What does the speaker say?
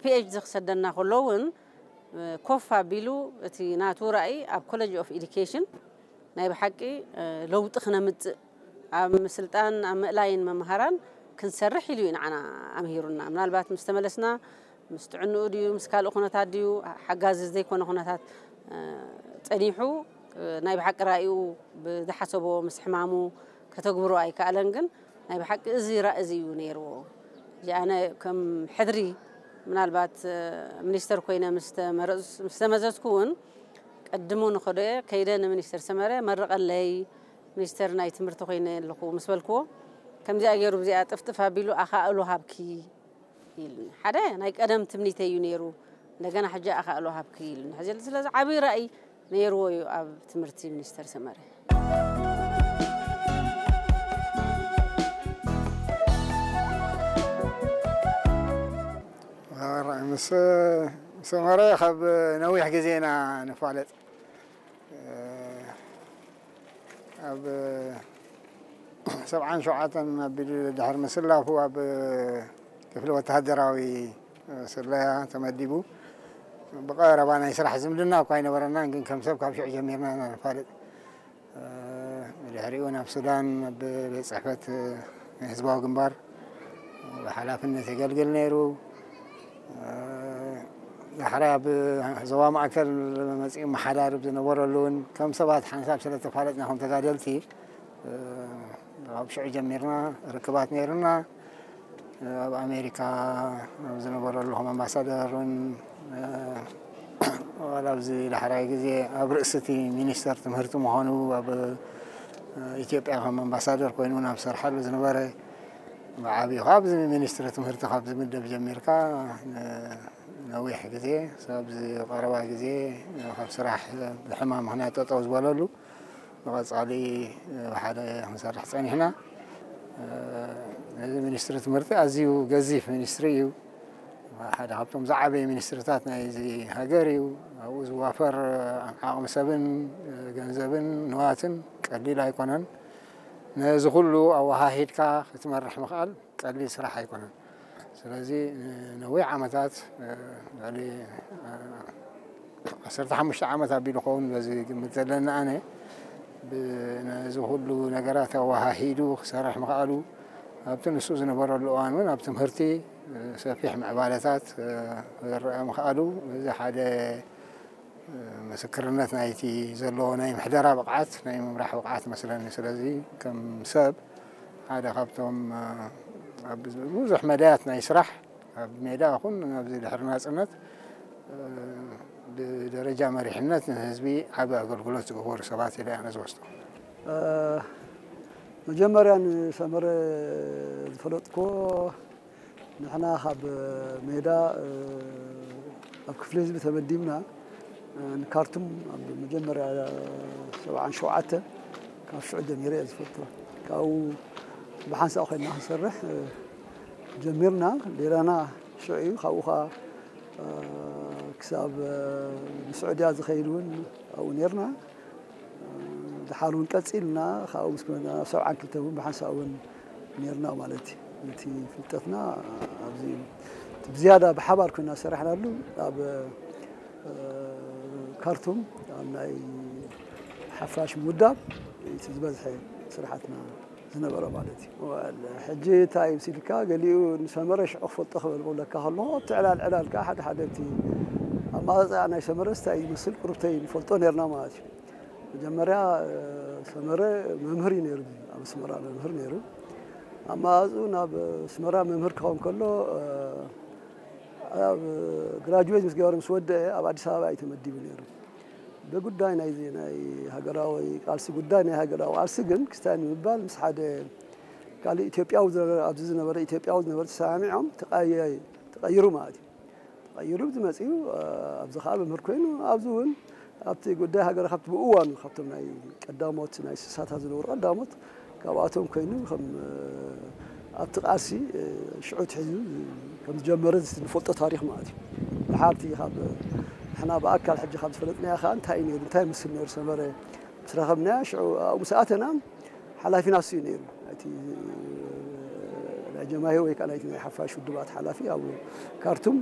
ፒኤችዲ ክሰደና ከሎ እውን ኮፍ ኣቢሉ እቲ ናቱ ራእይ ኣብ ኮሌጅ ኦፍ ኤዱኬሽን ናይ ብሓቂ ለውጢ ክነምፅእ ኣብ ምስልጣን ኣብ ምእላይን መምሃራን ክንሰርሕ ኢሉ እዩ ንዓና ኣምሂሩና። ምናልባት ምስ ተመለስና ምስ ጥዕንኡ ድዩ ምስ ካልእ ኩነታት ድዩ ሓጋዚ ዘይኮነ ኩነታት ፀኒሑ ናይ ብሓቂ ራእዩ ብዝሓሰቦ ምስ ሕማሙ ከተግብሮ ኣይከኣለን። ግን ናይ ብሓቂ እዚ ራእ እዚ እዩ ነይርዎ። እዚ ኣነ ከም ሕድሪ ምናልባት ሚኒስተር ኮይነ ምስ ተመዘዝኩ እውን ቀድሞ ንኸዶ እየ ከይደ ንሚኒስተር ሰመረ መርቐለይ ሚኒስተር ናይ ትምህርቲ ኮይነ ኣለኹ ምስ በልክዎ ከምዚኣ ገይሩ ብዚኣ ጥፍጥፍ ኣቢሉ ኣኻእሎ ሃብኪ ኢሉኒ። ሓደ ናይ ቀደም ትምኒተይ እዩ ነይሩ። እንደገና ሕጂ ኣኻእሎ ሃብኪ ኢሉኒ። ሕዚ ስለዚ ዓብዪ ራእይ ነይርዎ እዩ ኣብ ትምህርቲ ሚኒስተር ሰመረ። ምስ ሰመረ ካብ ነዊሕ ግዜ ኢና ንፋለጥ። ኣብ ሰብዓን ሸውዓተን ኣቢሉ ድሕሪ ምስላፉ ኣብ ክፍሊ ወተሃደራዊ ስለያ ተመዲቡ። ብቐረባ ናይ ስራሕ ዝምድና እኳ ኣይነበረናን፣ ግን ከም ሰብ ካብ ሽዑ ጀሚርና ኢና ንፋለጥ። ብድሕሪኡ ናብ ሱዳን ኣብ ቤት ፅሕፈት ናይ ህዝባዊ ግንባር ብሓላፍነት የገልግል ነይሩ። ዳሕራይ ኣብ ዞባ ማእከል መፂኡ መሓዳርብ ዝነበረሉ እውን ከም ሰባት ሓንሳብ ስለ ተፋለጥና ከም ተጋደልቲ ካብ ሽዑ ጀሚርና ርክባት ነይሩና። ኣብ ኣሜሪካ ኣብ ዝነበረሉ ከም ኣምባሳደር እውን ዋላ ኣብዚ ዳሕራይ ግዜ ኣብ ርእሲ እቲ ሚኒስተር ትምህርቲ ምዃኑ ኣብ ኢትዮጵያ ከም ኣምባሳደር ኮይኑ እውን ኣብ ዝሰርሓሉ ዝነበረ ብዓብዩ ካብ ኣብዚ ሚኒስትሪ ትምህርቲ ካብ ዝምደብ ጀሚርካ ነዊሕ ግዜ ኣብዚ ቀረባ ግዜ ካብ ስራሕ ብሕማም ምኽንያት ጠጠው ዝበለሉ ብቐፃሊ ሓደ ክንሰርሕ ፀኒሕና። እዚ ሚኒስትሪ ትምህርቲ ኣዝዩ ገዚፍ ሚኒስትሪ እዩ። ሓደ ካብቶም ዝዓበየ ሚኒስትርታት ናይዚ ሃገር እዩ። ኣብኡ ዝዋፈር ዓቕሚ ሰብን ገንዘብን ንዋትን ቀሊል ኣይኮነን። ነዚ ኩሉ ኣወሃሂድካ ክትመርሕ ምኽኣል ቀሊል ስራሕ ኣይኮነን። ስለዚ ንነዊሕ ዓመታት ልዕሊ ዓሰርተ ሓሙሽተ ዓመት ኣቢሉ ኸውን በዚ ግምት ዘለኒ ኣነ ነዚ ኩሉ ነገራት ኣወሃሂዱ ክሰርሕ ምኽኣሉ ኣብቲ ንሱ ዝነበረሉ እዋን እውን ኣብ ትምህርቲ ሰፊሕ ምዕባለታት ክረአ ምኽኣሉ እዚ ሓደ ምስክርነት ናይቲ ዘለዎ ናይ ምሕደራ ብቕዓት ናይ ምምራሕ ብቕዓት መስለኒ። ስለዚ ከም ሰብ ሓደ ካብቶም ኣብ ብዙሕ መዳያት ናይ ስራሕ ኣብ ሜዳ ይኹን ኣብዚ ድሕሪ ናፅነት ብደረጃ መሪሕነት ንህዝቢ ዓቢ ኣገልግሎት ዝገበሩ ሰባት ኢለ ኣነ ዝወስዶ። መጀመርያ ንሰመረ ዝፈለጥኩዎ ንሕና ካብ ሜዳ ኣብ ክፍሊ ህዝቢ ተመዲብና ንካርቱም ኣብ መጀመርያ ሰብዓን ሸውዓተ ካብ ሽዑ ጀሚረ እየ ዝፈልጦ። ካብኡ ብሓንሳእ ኮይና ክንሰርሕ ጀሚርና። ሌላና ሽዑ እዩ። ካብኡ ከዓ ክሳብ ንስዑድያ ዝኸይድ እውን ኣብኡ ነርና። ድሓር እውን ቀፂልና ካብኡ ምስ ኮና ናብ ሰብዓን ክልተ እውን ብሓንሳእ እውን ነርና ማለት እዩ። ነቲ ፍልጠትና ኣብዚ እዩ። እቲ ብዝያዳ ብሓባር ኮይና ዝሰራሕናሉ ኣብ ካርቱም ኣብ ናይ ሓፋሽ ምውዳብ እቲ ዝበዝሐ ስራሓትና ዝነበረ ማለት እዩ። ሕጂ እንታይ እዩ ሲልካ ገሊኡ ንሰመረ ሽዑ ክፈልጦ ክበል ክብለካ ከለኹ ኣብቲ ዕላል ዕላል ከዓ ሓደ ሓደ እቲ ኣማፃፅኣ ናይ ሰመረስ እንታይ እዩ ዝመስል ቁሩብተይ ንፈልጦ ነርና ማለት እዩ። መጀመርያ ሰመረ መምህር እዩ ነይሩ፣ ኣብ ኣስመራ መምህር ነይሩ። ኣማፃፅኡ ናብ ኣስመራ መምህር ክኸውን ከሎ ኣብ ግራጁዌት ምስ ገበረ ምስ ወደአ ኣብ ኣዲስ ኣበባ እዩ ተመዲቡ ነይሩ። ብጉዳይ ናይዚ ናይ ሃገራዊ ቃልሲ ጉዳይ ናይ ሃገራዊ ቃልሲ ግን ክስታይ ንምባል ምስ ሓደ ካልእ ኢትዮጵያዊ ዝነበረ ኣብዚ ዝነበረ ኢትዮጵያዊ ዝነበረ ተሰማሚዖም ተቐየ- ተቐይሩ ማለት እዩ። ተቐይሩ ዝመፅኡ ኣብዚ ከዓ መምህር ኮይኑ ኣብዚ እውን ኣብቲ ጉዳይ ሃገር ካብቲ ብእዋኑ ካብቶም ናይ ቀዳሞት ናይ ስሳታት ዝነበሩ ቀዳሞት ካብኣቶም ኮይኑ ከም ኣብቲ ቃልሲ ሽዑ ትሒዙ ከም ዝጀመረ ዝፈልጦ ታሪኽ ማለት እዩ። ድሓርቲ ካብ ንሕና ብኣካል ሕጂ ካብ ዝፈለጥናዮ ከዓ እንታይ እዩ ነይሩ እንታይ ይመስል ነይሩ ሰመረ ምስ ረኸብናዮ ሽዑ ኣብኡ ምስ ኣተና ሓላፊና እሱ እዩ ነይሩ። ናይቲ ናይ ጀማሂር ወይ ከዓ ናይቲ ናይ ሓፋሽ ውድባት ሓላፊ ኣብ ካርቱም